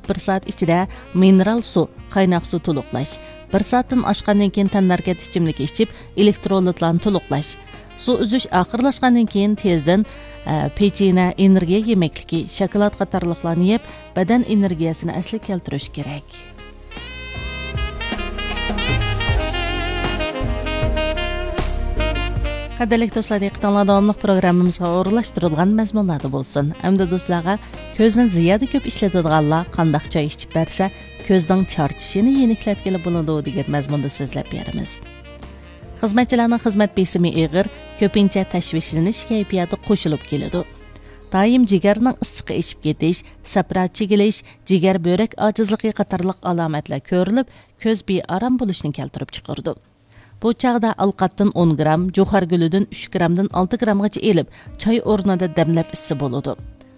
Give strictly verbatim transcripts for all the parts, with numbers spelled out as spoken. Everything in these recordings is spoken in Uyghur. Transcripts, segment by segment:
بىر سائەت ئىچىدە مىنېرال سۇ، قايناق سۇ تولۇقلاش. بىر سائەتتىن ئاشقاندىن كېيىن تەنھەرىكەت ئىچىملىكى ئىچىپ، ئېلېكترولىتلارنى تولۇقلاش. سۇ ئۈزۈش ئاخىرلاشقاندىن كېيىن تېزدىن، ئە، پېچىنە، ئېنېرگىيە يېمەكلىكى، شاكىلات قاتارلىقلارنى يەپ، بەدەن ئېنېرگىيەسىنى ئەسلىگە كەلتۈرۈش كېرەك. قەدىرلىك دوستلار، دىققىتىڭلار داۋاملىق پروگراممىمىزغا ئورۇنلاشتۇرۇلغان مەزمۇنلاردا بولسۇن. ئەمدى دوستلارغا كۆزنى زىيادە كۆپ ئىشلىتىدىغانلار قانداق چاي ئىچىپ بەرسە، كۆزنىڭ چارچىشىنى يېنىكلەتكىلى بولىدۇ، دېگەن مەزمۇندا سۆزلەپ بېرىمىز. خىزمەتچىلەرنىڭ خىزمەت بېسىمى ئېغىر، كۆپىنچە تەشۋىشلىنىش كەيپىياتى قوشۇلۇپ كېلىدۇ. دائىم جىگەرنىڭ ئىسسىقى ئېشىپ كېتىش، سەپرا چىگىلىش، جىگەر بۆرەك ئاجىزلىقى قاتارلىق ئالامەتلەر كۆرۈلۈپ، كۆز بىئارام بولۇشنى كەلتۈرۈپ چىقىرىدۇ. بۇ چاغدا ئالقاتتىن ئون گرام، جۇخار گۈلىدىن ئۈچ گرامدىن ئالتە گرامغىچە ئېلىپ، چاي ئورنىدا دەملەپ ئىچسە بولىدۇ.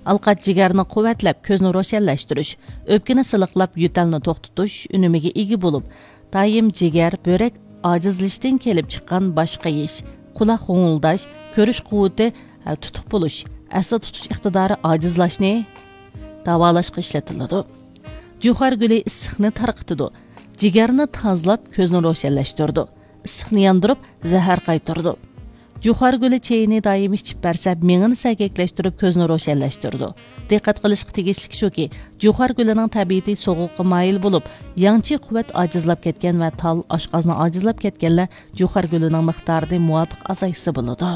ئالقات جىگەرنى قۇۋۋەتلەپ، كۆزنى روشەنلەشتۈرۈش، ئۆپكىنى سىلىقلاپ، يۆتەلنى توختىتىش ئۈنۈمىگە ئىگە بولۇپ، دائىم جىگەر، بۆرەك ئاجىزلىشىشتىن كېلىپ چىققان باش قېيىش، قۇلاق غوڭۇلداش، كۆرۈش قۇۋۋىتى، ھە، تۇتۇق بولۇش، ئەستە تۇتۇش ئىقتىدارى ئاجىزلاشنى داۋالاشقا ئىشلىتىلىدۇ. جۇخار گۈلى ئىسسىقنى تارقىتىدۇ، جىگەرنى تازىلاپ، كۆزنى روشەنلەشتۈرىدۇ، ئىسسىقنى ياندۇرۇپ، زەھەر قايتۇرىدۇ. جۇخار گۈلى چېيىنى دائىم ئىچىپ بەرسە، مېڭىنى سەگەكلەشتۈرۈپ، كۆزنى روشەنلەشتۈرىدۇ. دىققەت قىلىشقا تېگىشلىك شۇكى، جۇخار گۈلىنىڭ تەبىئىتى سوغۇققا مايىل بولۇپ، ياڭچى قۇۋۋەت ئاجىزلاپ كەتكەن ۋە تال، ئاشقازىنى ئاجىزلاپ كەتكەنلەر جۇخار گۈلىنىڭ مىقدارىنى مۇۋاپىق ئازايتسا بولىدۇ.